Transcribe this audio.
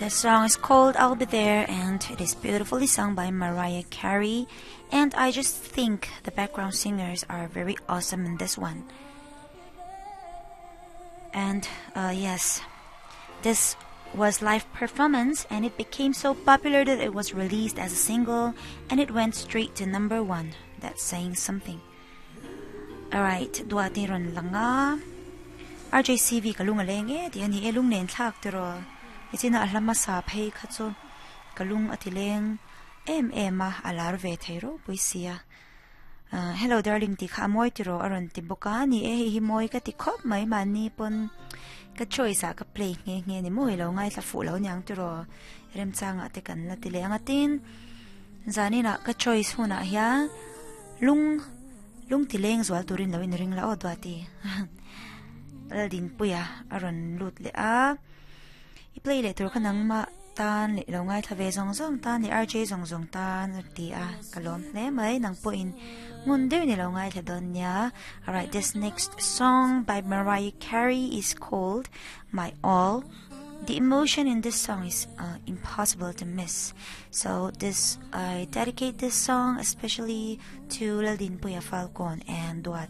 The song is called I'll Be There and it is beautifully sung by Mariah Carey and I just think the background singers are very awesome in this one. And uh, yes, this was live performance and it became so popular that it was released as a single and it went straight to number 1. That's saying something. Alright, duati ron langa. RJCV ka lung aleng e ti ani e lung nen thlak tiro. Ichina a hlama sa phei kha chu ka lung ati leng em em a alar ve theiro puisia. Uh, hello darling ti kha moi tiro aron ti boka ni e hi moi ka ti khop mai ma ni pon ka choice a ka play nge nge ni moi lo ngai tla fu lo nyang tiro rem changa te kan la ti le anga tin zanina ka choice huna hiya lung lung ti leng zual turin lo in ring la o duati laldin puya aron lut le a i play le tur khanang ma tan le lo ngai thla ve zong zong tan le RJ zong zong tan ti a kalom hle mai nang po in ngun deuh ni lo ngai thla don nia. Alright, this next song by Mariah Carey is called My All. The emotion in this song is uh, impossible to miss. So this I dedicate this song especially to Laldin Puya Falcon and Duat.